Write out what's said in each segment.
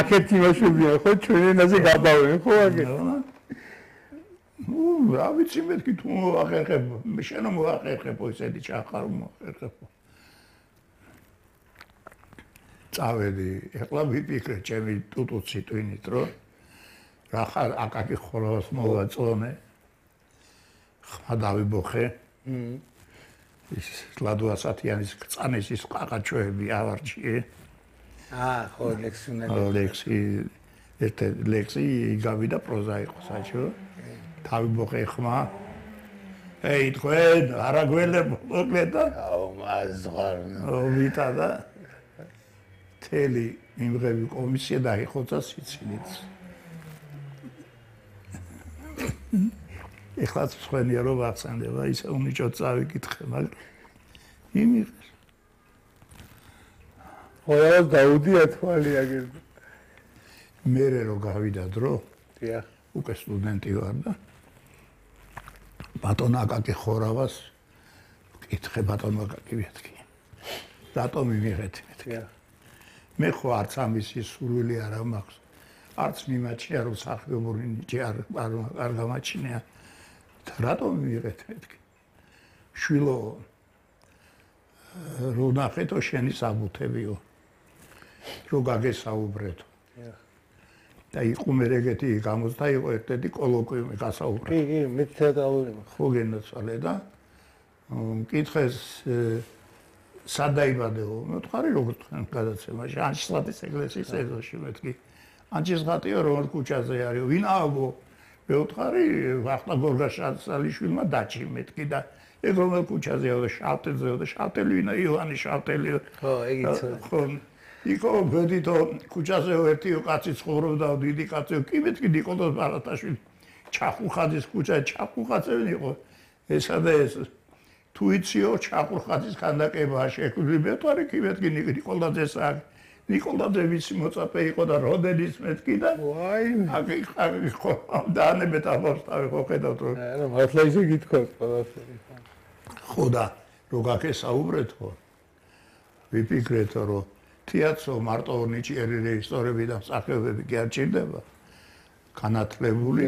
აქეთი მოშუბია ხო ჩვენ ენაზე გაბავენ ხო აქეთ რა ვიცი მეთქი თუ მოახერხებ შენ მოახერხებო ისეთი ჩახარ მოახერხებო წავედი ეხლა ვიფიქრე ჩემი ტუტუცი ტვინით რომ რა ხარ აკაკი ხოლოს მოვაწონე ხმა დავიბოხე ის ლადუასათიანის წანესის ყაყაჩოები ავარჩიე ხო ლექსი ერთ ლექსი გავიდა პროზა იყო საჭირო დავიბოხე ხმა ეი თქვენ არა გველებო მოკლედა მაზღარ ვითა და თელი იმღები კომისია დაიხოცა სიცილით ეხლა თქვენია რომ ვახსენდება ისე უნიჭოდ წავიკითხე მაგრამ იმიღეს ხოლმე დაუდია თვალი აგერ მე რო გავიდა დრო დიახ უკვე სტუდენტი ვარ და ბატონ აკაკი ხორავას კითხე ბატონ აკაკი მეთქი რატომ იმიღეთ მეთქი მე ხო არც ამისი სურვილი არ მაქვს არც მიმაჩნია რომ სახიობური ნიჭი არ გამაჩნია რატომ იმიღეთ მეთქი შვილო რო ნახეთო შენი საბუთებიო რო გაგესაუბრეთო და იყუმე ეგეთი გამოსდა იყო ერთ-ერთი კოლოკვიუმი გასაუბრე კი მე თეატრალური ხო გენაცვალე და მკითხეს სად დაიბადეო მეთხარი როგორ თქვენ გადაცემაში ანჩისხატის ეკლესიის ეზოში მეთქი ანჩისხატიო რომელ ქუჩაზე არის ვინაობო მეთხარი ვახტა გორგაშალიშვილმა დაჭი მეთქი და ეგ რომელ ქუჩაზეო და შავტელზეო და შავტელი ვინა ივანი შავტელიო ხო ეგიც ხო იქო ბედითო ქუჩაზეო ერთიო კაცი ცხოვრობდა დიდი კაცი კი მეთქი ნიკოლოზ ბარათაშვილი ჩახურხაძის ქუჩა ჩახურხაძენი იყო ესა და ეს თუ იციო ჩახურხაძის ქანდაკებაა შექმნილი მეთხარი კი მეთქი ნიკოლაძეს აქ ნიკოლაძე ვიცი მოწაფე იყო და როდენის მეთქი და ვაი აქ ხო დაანებეთ ამავსტავი ხო ხედავთ რომ არა მართლა ისე გითხოვთ ყველაფერი ხო და რო გაგესაუბრეთ ხო ვიფიქრეთ რომ თეატრო მარტო ნიჭიერი რეჟისორები და მსახიობები კი არ ჭირდება განათლებული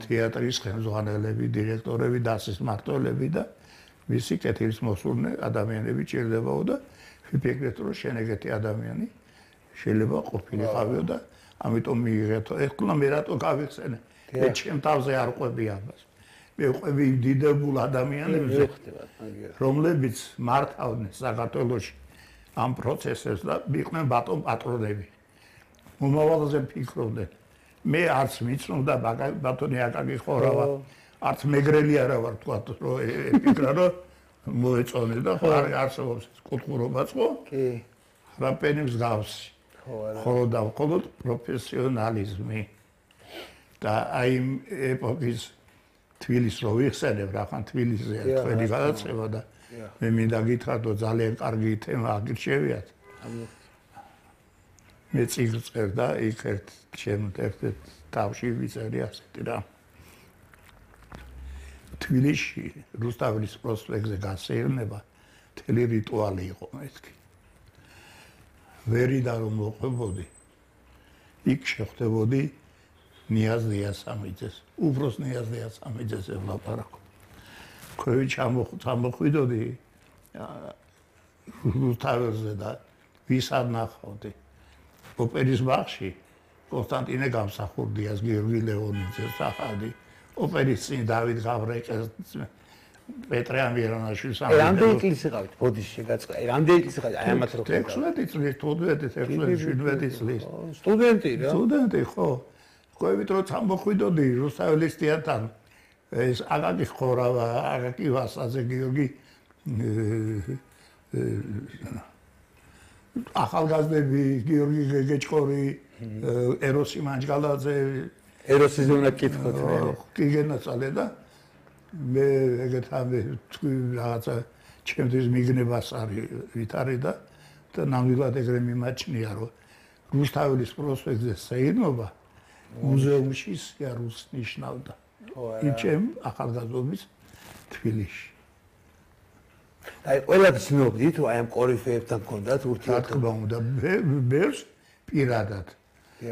თეატრის ხელმძღვანელები დირექტორები დასის მმართველები და მისი კეთილის მოსურნე ადამიანები ჭირდებაო და ვიფიქრეთ რომ შენ ეგეთი ადამიანი შეიძლება ყოფილიყავიო და ამიტომ მიიღეთო ეხლა მე რატო გავიხსენე მე ჩემ თავზე არ ყვები ამას მე ყვები დიდებულ ადამიანებზე რომლებიც მართავდნენ საქართველოში ამ პროცესებს და იყვნენ ბატონ პატრონები მომავალზე ფიქრობდნენ მე არც მიცნობდა ბატონი აკაკი ხორავა არც მეგრელი არა ვარ თქვა რომ ეკრა რომ მოეწონე და ხო არ არსებობს კულტურობაც ხო კი რაპენებს გავს ხო და მხოლოდ პროფესიონალიზმი და აი ეპოქის თბილისს რო ვიხსენებ რახან თბილისზე თქვენი გადაცემა და მე მინდა გითხრათ რომ ძალიან კარგი თემა აგირჩევიათ მე წიგნს წერდა და იქ ჩემ ერთ თავში ვიწერე ასეთი რა თბილისში რუსთაველის პროსპექტზე გასეირნება მთელი რიტუალი იყო მეთქი ვერიდან რომ მოყვებოდი იქ შეხვდებოდი ნიაზ დიასამიძეს უფროს ნიაზ დიასამიძეს ვლაპარაკო ქვევით ჩამოხვიდოდი რუსთაველზე და ვის არ ნახავდი ოპერის ბაღში კონსტანტინე გამსახურდიას გიორგი ლეონიძეს სახადი ოპერის წინ დავით გავრეკეს პეტრე ამირანაშვილს რამდენი წლის იყავით ბოდიში გაწყვე რამდენი წლის იყავით აი ამათ რო 16 წლის 15 წლის სტუდენტი რა სტუდენტი ხო ყვევით რომ ჩამოხვიდოდი რუსთაველის თეატრთან ეს აკაკი ხორავა აკაკი ვასაძე გიორგი ახალგაზრდები გიორგი გეგეჭკორი ეროსი მანჯგალაძე ეროსის უნდა კითხოთ კი გენაცვალე და მე ეგეთ ამე თქვი რაღაცა ჩემთვის მიგნებას არის ვითარი და ნამდვილად ეგრე მიმაჩნია რომ რუსთაველის პროსპექტზე საერთობა მუზეუმში სიარულს ნიშნავდა იჩემ ახალგაზრდობის თბილისში აი ყველა ცნობდით რომ აი ამ კორიფეებთან გქონდათ ურთიერთობა რა თქმა უნდა ბერს პირადად